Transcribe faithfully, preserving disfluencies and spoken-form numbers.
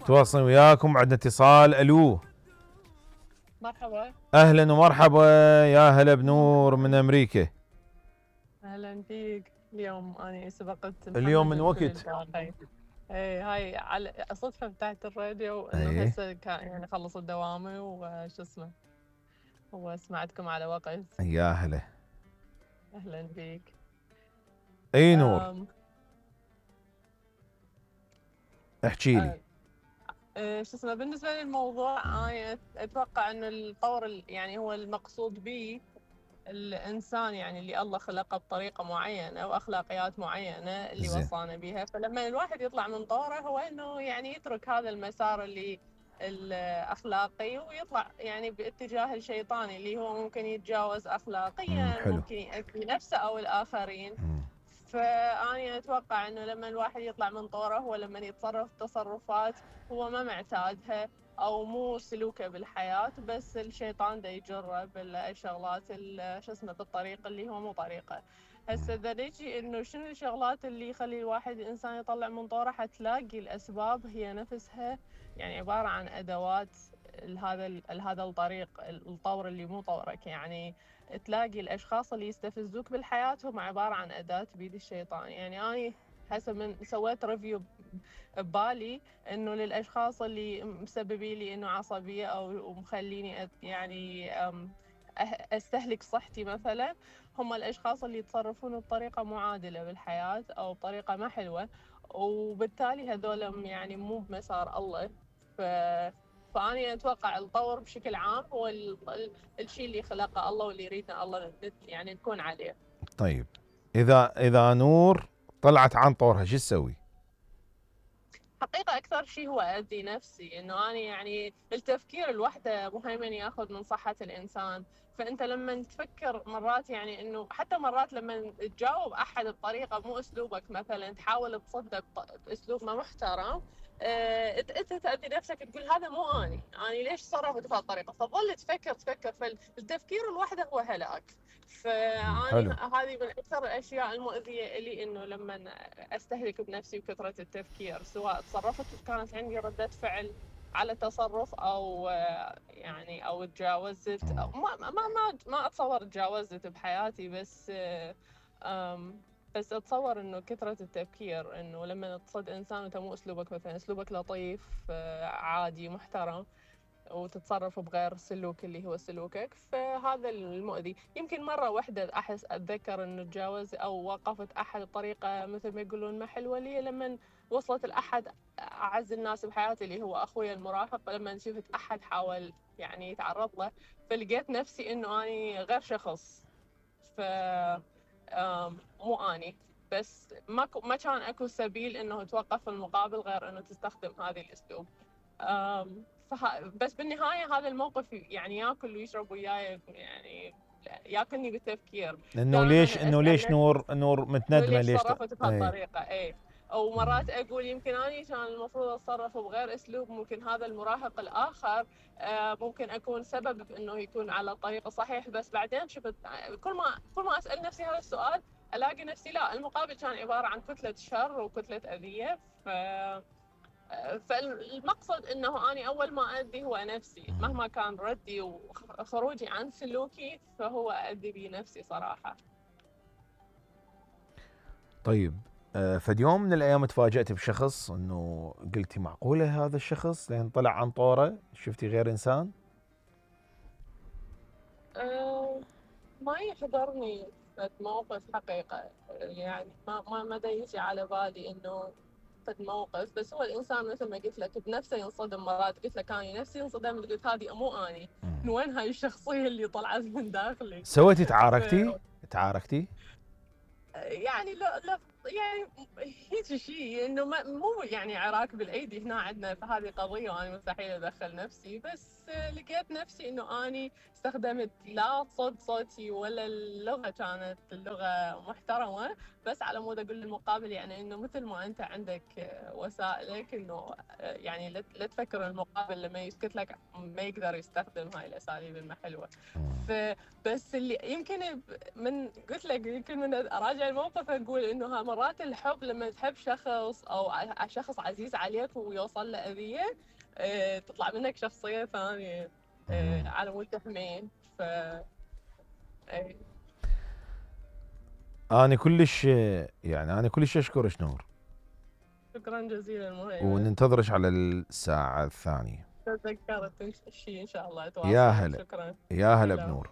تواصل وياكم. عندنا اتصال. الو مرحبا. اهلا ومرحبا، يا هلا بنور من امريكا. اهلا فيك. اليوم انا سبقت اليوم من وقت. اي هاي على صدفه فتحت الراديو انه ايه هسه كان يعني خلصت دوامي وشو اسمه وسمعتكم على وقت. يا هلا. اهلا فيك. اي نور أم... احكي لي. أه... شو اسمه بالنسبه للموضوع انا اتوقع انه الطور يعني هو المقصود به الانسان يعني اللي الله خلقه بطريقه معينه واخلاقيات معينه اللي زين. وصانا بها، فلما الواحد يطلع من طوره هو انه يعني يترك هذا المسار اللي الاخلاقي ويطلع يعني باتجاه الشيطاني اللي هو ممكن يتجاوز اخلاقيا، حلو. ممكن يأذي نفسه او الاخرين. مم. فأنا أتوقع إنه لما الواحد يطلع من طوره هو لما يتصرف تصرفات هو ما معتادها أو مو سلوكه بالحياة، بس الشيطان دا يجره بالشغلات شو اسمه بالطريق اللي هو مو طريقه. هسه إذا نجي إنه شنو الشغلات اللي يخلي الواحد الإنسان يطلع من طوره، حتلاقي الأسباب هي نفسها يعني عبارة عن أدوات هذا هذا الطريق الطور اللي مو طورك. يعني تلاقي الاشخاص اللي يستفزوك بالحياه هم عباره عن اداه بيد الشيطان. يعني انا حسب من سويت ريفيو ببالي انه للاشخاص اللي مسببين لي انه عصبيه او مخليني يعني استهلك صحتي مثلا، هم الاشخاص اللي يتصرفون بطريقه معادله بالحياه او بطريقه ما حلوه، وبالتالي هذول يعني مو بمسار الله. ف فأنا أتوقع الطور بشكل عام هو الشيء اللي خلقه الله واللي يريدنا الله يعني نكون عليه. طيب إذا إذا نور طلعت عن طورها شو تسوي؟ حقيقة أكثر شيء هو أذي نفسي، إنه أنا يعني التفكير الوحدة مهيمن ياخذ من صحة الإنسان. فأنت لما تفكر مرات يعني إنه حتى مرات لما تجاوب أحد بطريقة مو أسلوبك، مثلا تحاول تصدق بأسلوب ما محترم، انت تأذي نفسك تقول هذا مو اني، انا ليش صرفت بهالطريقه، فتظل تفكر تفكر فالتفكير الوحده هو هلاك. فاني هذه من اكثر الاشياء المؤذيه لي، انه لما استهلك بنفسي بكثره التفكير، سواء تصرفت كانت عندي رده فعل على تصرف او يعني او تجاوزت أو ما ما ما ما اتصور تجاوزت بحياتي، بس بس اتصور انه كثره التفكير، انه لما تصد انسان وانت مو اسلوبك مثلا اسلوبك لطيف عادي محترم وتتصرف بغير سلوك اللي هو سلوكك، فهذا المؤذي. يمكن مره واحده احس اتذكر انه تجاوز او وقفت احد بطريقه مثل ما يقولون ما حلوه لي، لما وصلت لاحد اعز الناس بحياتي اللي هو اخوي المراهق، لما شفت احد حاول يعني يتعرض له، فلقيت نفسي انه اني غير شخص. ف مو اني بس ما ما كان اكو سبيل انه توقف المقابل غير انه تستخدم هذه الاسلوب. فه... بس بالنهايه هذا الموقف يعني ياكل ويشرب وياي، يعني ياكلني بالتفكير انه ليش انه ليش نور نور متندمه ليش ليش صرفت بهالطريقه. اي او مرات اقول يمكن اني كان المفروض اتصرف بغير اسلوب، ممكن هذا المراهق الاخر ممكن اكون سبب انه يكون على الطريق الصحيح، بس بعدين شفت كل ما كل ما اسال نفسي هذا السؤال الاقي نفسي لا، المقابل كان عباره عن كتله شر وكتله اذيه. ف فالمقصد انه اني اول ما اذي هو نفسي، مهما كان ردي وخروجي عن سلوكي فهو اذي بنفسي صراحه. طيب فد يوم من الايام تفاجأت بشخص انه قلتي معقوله هذا الشخص لين طلع عن طوره شفتي غير انسان؟ أه ما يحضرني موقف حقيقه، يعني ما ما ما يجي على بالي انه فد موقف، بس هو الانسان مثل ما قلت لك بنفسه ينصدم مرات. قلت لك انا نفسي انصدمت، قلت هذه مو اني، من وين هاي الشخصيه اللي طلعت من داخلي. سويتي تعاركتي؟ تعاركتي؟ يعني لا لا يعني هيك شيء انه مو يعني عراك بالايدي هنا عندنا فهذه قضيه وانا مستحيل ادخل نفسي، بس لقيت نفسي انه اني استخدمت لا صوت صوتي ولا اللغه كانت اللغه محترمه، بس على مود اقول للمقابل يعني انه مثل ما انت عندك وسائلك انه يعني لا تفكر المقابل لما يسكت لك ما يقدر يستخدم هاي الاساليب المحلوه. فبس اللي يمكن من قلت لك يمكن من اراجع الموقف اقول انه مرات الحب لما تحب شخص او ع- شخص عزيز عليك ويوصل له اذيه، آه، تطلع منك شخصيه ثانيه، آه، مم. على مود تحميه. ف إيه. انا كلش يعني انا كلش اشكرك نور، شكرا جزيلا مهيمن. وننتظرك على الساعة الثانية. تذكرت شيء ان شاء الله يا اتواصل. هلا شكرا. يا هلا سلام. بنور.